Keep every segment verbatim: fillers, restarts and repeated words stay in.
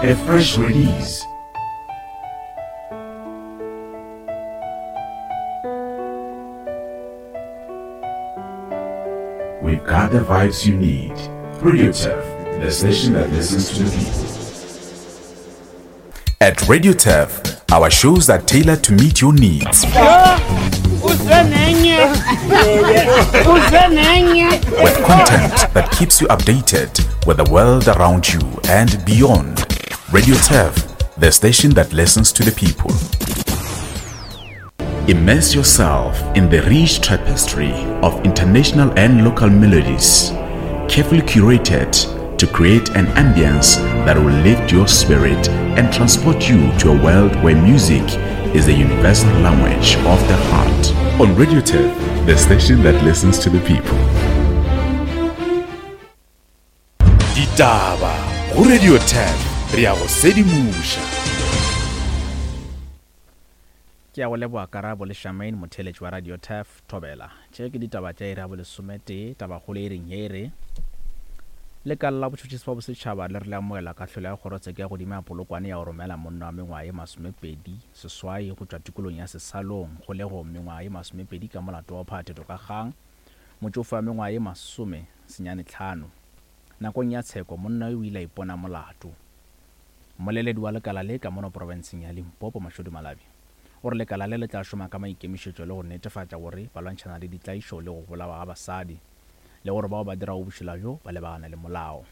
A fresh release. We've got the vibes you need. Radio Turf, the station that listens to the people. At Radio Turf, our shows are tailored to meet your needs. With content that keeps you updated with the world around you and beyond. Radio Turf, the station that listens to the people. Immerse yourself in the rich tapestry of international and local melodies, carefully curated to create an ambience that will lift your spirit and transport you to a world where music is the universal language of the heart. On Radio Turf, the station that listens to the people. Ditaba go Radio Turf, re a go sedimoša. Ke a go leboga Karabo le Shamaine, motheeletši wa Radio Turf Thobela. Tše ke ditaba tša iri ya bolesometee. Tabakgolo e reng ye e re lekala la botšhotšhisi ba bosetšhaba le re le amogela kahlolo ya kgorotsheko ya godimo ya Polokwane ya go romela monna wa mengwaga ye masomepedi seswai go tšwa tikolong ya Sesalong kgolegong mengwaga ye masomepedi ka molato wa phathetho ka kgang motšofe wa mengwaga ye masome senyane tlhano. Nakong ya tsheko monna yo o ile a ipona molato. Mmoleledi wa lekala le ka mono profenseng ya Limpopo Mashodu Malabi o re lekala le le tla šoma ka maikemišetšo le go netefatša gore ba lwantšhana le ditlaišo le go bolawa ga basadi le gore bao ba dirago bošula bjo ba lebagane le molao.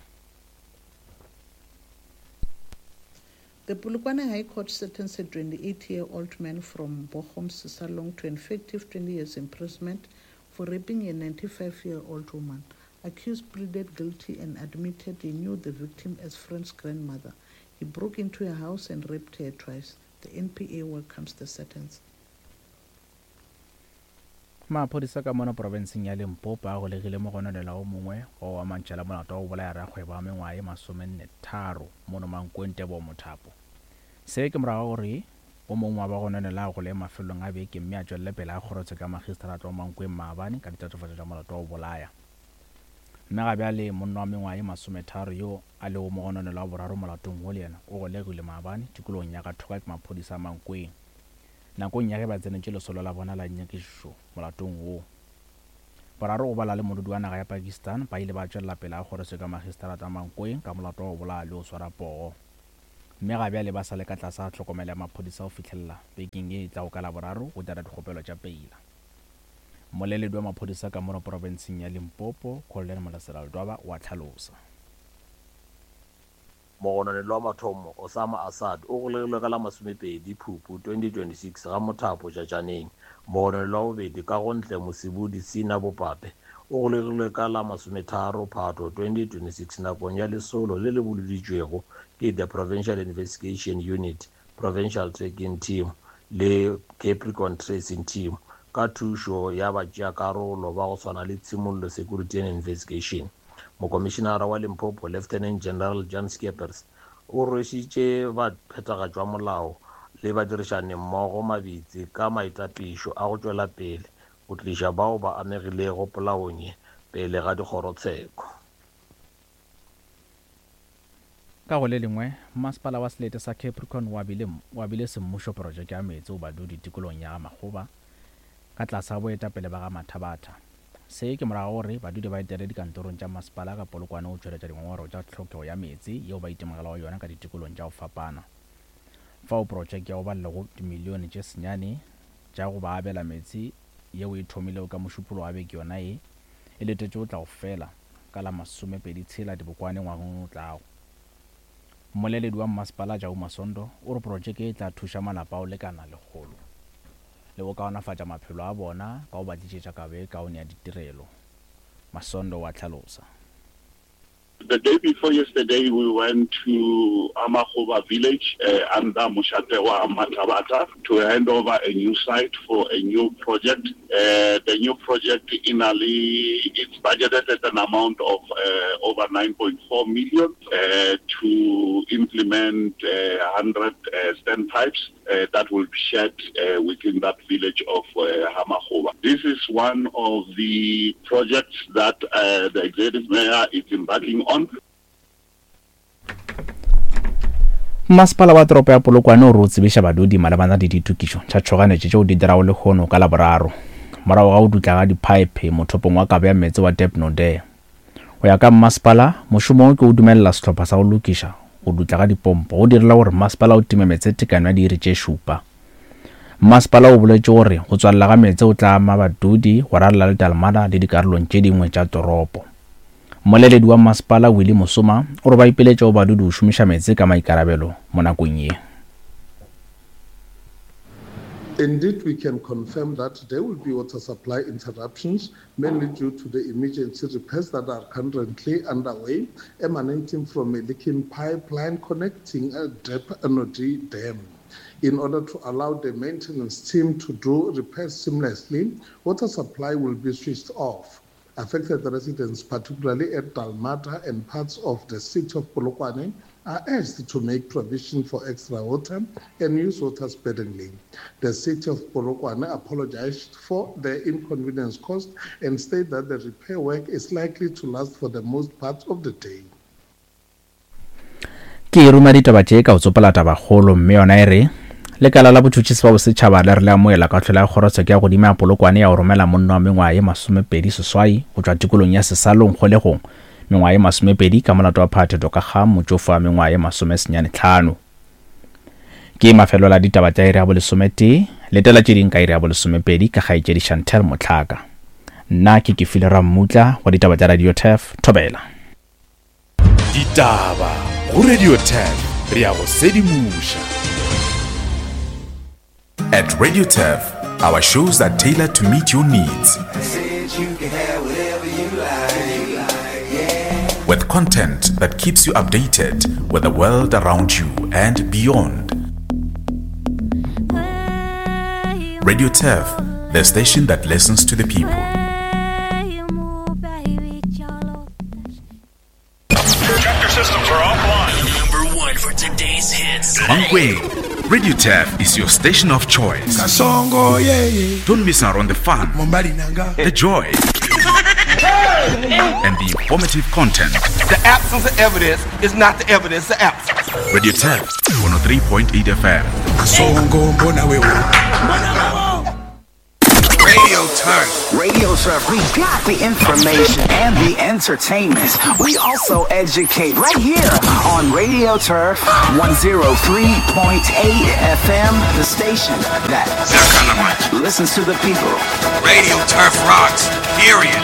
The Polokwane High Court sentenced a twenty-eight-year-old man from Bochum, Sesalong, to an effective twenty years imprisonment for raping a ninety-five-year-old woman. Accused pleaded guilty and admitted he knew the victim as friend's grandmother. He broke into her house and raped her twice. The N P A welcomes the sentence. Maphodisa ka mono profenseng ya Limpopo a golegile mogononelwa o mongwe wa go amantšha le molato wa go bolaya rakgwebo wa mengwaga ye masomenne tharo mono Mankweng Tebogo Mothapo. Se ke morago gore o mongwe wa bagononelwa a gole mafelong a beke mme a tšwelele pele a kgorotsheko ya magistrata wa Mankweng maabane ka ditatofatšo tša molato wa go bolaya. Mme ga bjale monna wa mengwaga ye masometharo yo a lego mogononelwa wa boraro molatong wo le yena o golegilwe maabane tikologong ya Kathoka ke maphodisa a Mankweng nakong ya ge ba tsenetše lesolo la bona la nyakišišo molatong wo. Boraro go bala le modudi wa naga ya Pakistan ba ile ba tšwelela pele a kgorotsheko ya magistrata Mankweng ka molato wa go bolaya le go swara poo. Mme ga bjale ba sa le ka tlase ga tlhokomelo ya maphodisa go fihlelela bekeng ye e tlago ka Laboraro go dira dikgopelo tša peila. Mmoleledi wa maphodisa ka mono profenseng ya Limpopo, Colonel Molasela Ledwaba, o a tlhalosa. Mogononelwa wa mathomo Osama Assad o golegilwe ka la masomepedi Phupu twenty twenty-six ga Mothapo Tšatšaneng. Mogononelwa wa bobedi ka gontle Mosibudi Sina Bopape o golegilwe ka la masometharo Phato twenty twenty-six nakong ya lesolo le le boloditšwego ke the Provincial Investigation Unit, Provincial Tracking Team le Capricorn Tracing Team ka thušo ya batšeakarolo ba go swana le Tshimollo Security and Investigation. Mokomišenara wa Limpopo Lieutenant General Jan Skeepers o rwešitše baphethagatši ba molao le badirišani mmogo mabitsi ka maitapišo a go tšwela pele go tliša bao ba amegilego polaong ye pele ga dikgorotsheko. Ka go le lengwe, masepala wa selete sa Capricorn o abile o abile semmušo projeke ya meetse go badudi tikologong ya Makgoba ka tlase ga boetapele ba ga Mathabatha. Se ke morago gore badudi ba etele dikantorong tša masepala ka Polokwane go tšweletša dingongorego tša tlhokego ya meetse yeo ba itemogelago yona ka ditikolong tša go fapana. Fao projeke ya go balela go dimilione tše senyane tša go ba abela meetse yeo e thomilego ka Mošupologo wa beke yona ye e letetše go tla go fela ka la masomepedi tshela Dibokwane ngwageng o tlago. Mmoleledi wa mmasepala Jabu Masondo o re projeke e tla thuša malapa a go lekana lekgolo le go kaonafatša maphelo a bona ka go ba tlišetša kabo e kaone ya ditirelo. Masondo wa tlhalosa. The day before yesterday, we went to Amahoba village uh, under Mushatewa Matabata to hand over a new site for a new project. Uh, the new project in Ali, it's budgeted at an amount of uh, over nine point four million uh, to implement uh, one hundred uh, standpipes uh, that will be shared uh, within that village of uh, Hamahoba. This is one of the projects that uh, the executive mayor is embarking on. Masepala wa toropo ya Polokwane o re o tsebiša badudi malebana le ditokišo tša tšhoganetšo tšeo di dirago lehono ka Laboraro morago ga go dutla ga diphaephe mothopong wa kabo ya meetse wa Dep Node. Go ya ka mmasepala, mošomo wo ke o dumelela sehlopha sa go lokiša go dutla ga dipompo go direla gore masepala o time meetse tekano ya diiri tše šupa. Masepala o boletše gore go tswalela ga meetse o tla ama badudi go ralala le Dalmada le dikarolong tše dingwe tša toropo. Mmoleledi wa masepala Willie Mosoma o re ba ipiletša go badudi go šomiša meetse ka maikarabelo mo nakong ye. Indeed, we can confirm that there will be water supply interruptions, mainly due to the emergency repairs that are currently underway, emanating from a leaking pipeline connecting a Dep Nodi Dam. In order to allow the maintenance team to do repairs seamlessly, water supply will be switched off. Affected residents, particularly at Dalmata and parts of the city of Polokwane, are urged to make provision for extra water and use water sparingly. The city of Polokwane apologized for the inconvenience caused and stated that the repair work is likely to last for the most part of the day. Ke ruma ditaba tše ka go tsopola tabakgolo, mme yona e re lekala la botšhotšhisi ba bosetšhaba le re le amoela kahlolo ya kgorotsheko ya godimo ya Polokwane ya go romela monna wa mengwaga ye masomepedi seswai go tšwa tikolong ya Sesalong kgolegong mengwaga ye masomepedi ka molato wa phathetho ka ga motšofe wa mengwaga ye masomesenyane tlhano. Ke mafelo la ditaba tša iri ya bolesometee, letela tše ding ka iri ya bolesomepedi ka kgaetšedi Chantel Motlhaka. Nna ke Kefile Rammutla wa ditaba tša Radio Turf, Thobela. Ditaba go Radio Turf, re ya go sedimoša. At Radio Turf, our shows are tailored to meet your needs. With content that keeps you updated with the world around you and beyond. Radio Turf, the station that listens to the people. Tractor systems are offline. Number one for today's hits. Mankweng, Radio Turf is your station of choice. Kasongo, yeah, yeah. Don't miss out on the fun, Mombali nanga. the joy, and the informative content. The absence of evidence is not the evidence of absence. Radio Turf, one oh three point eight F M. Kasongo, mbona wewe. Radio Turf. Radio Turf, we got the information and the entertainment. We also educate right here on Radio Turf one oh three point eight F M, the station that listens to the people. Radio Turf rocks, period.